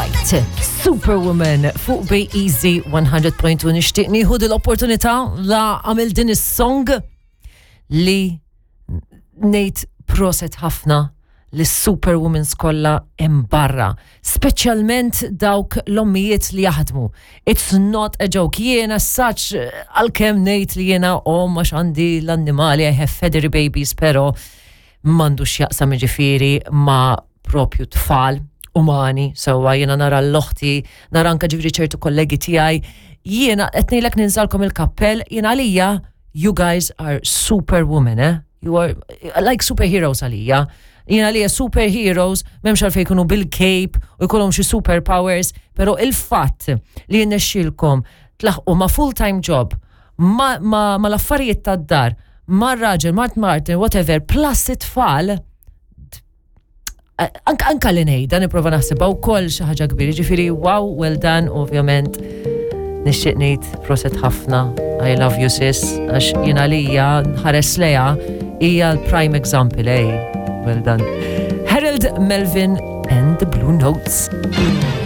White, Superwoman fuq Bay Easy 100.2 nixtieq nieħu l-opportunità la għamil din is-song li ngħid proset ħafna lis superwomans kollha hemm barra, speċjalment dawk l-ommijiet li jaħdmu. It's not a joke. Jiena such għalkemm ngħid li jiena omm għax għandi l-annimali, I have feathery babies, pero m'għandux x'jaqsam ġifieri ma' propju tfal umani, sewwa jiena nara l-oħti, nara anka ġifieri ċertu kollegi tiegħi, jiena qed ngħidlek ninżalkom il-kappell, jiena għalija you guys are superwomen, eh? You are like superheroes għalija. Jiena għalija superheroes m'hemmx għalfejn jkunu bil-cape u jkollhom xi superpowers, però il-fatt li jirnexxielkom tlaħqu ma' full-time job, ma, ma, ma l-affarijiet tad-dar, ma' raġel, ma' Martin, whatever, plus it-tfal, anka, anka li ngħidha nipprova naħsibha wkoll xi ħaġa kbira, ġifieri wow, well done, ovvjament nixtieq ngħid proset ħafna, I love you sis, għax jiena lija nħares leja hija l-prime example, ej, well done. Harold Melvin and the Blue Notes.